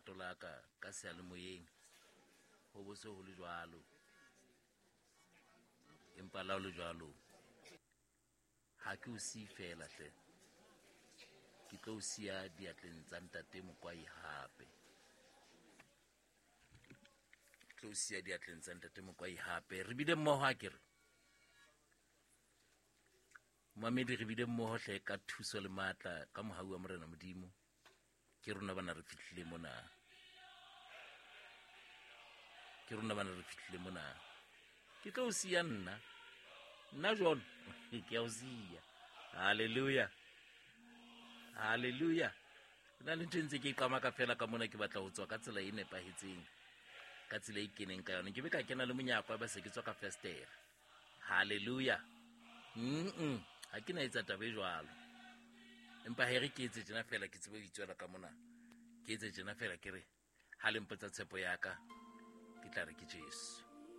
lerato la ka ka seyalemoyeng ho bo se ho le jwalo empa la ho le jwalo ha ke o siye fela hle ke tlo o siya diatleng tsa ntate mokwai hape tlo o siya diatleng tsa ntate mokwai hape re bile mmoho a ke re Mamedi re bile mmoho hle ka thuso le matla ka mohau wa Morena Modimo. Ke rona bana re fihlile mona. Ke rona bana re fihlile mona. Ke tlo o siya nna. Nna John ke a o siya. Hallelujah. Hallelujah. Na le ntho e ntse ke e qamaka fela ka mona ke batla ho tswa ka tsela e nepahetseng ka tsela e keneng ka yone ke be ka kena le monyako ba se ke tswa ka festere halleluja mm ga ke na etsa taba e jwalo empa he re ke etse tjena fela ke tsebe ho itswela ka mona ke etse tjena fela ke re ha le mpotsa tshepo ya ka ke tla re ke jesu.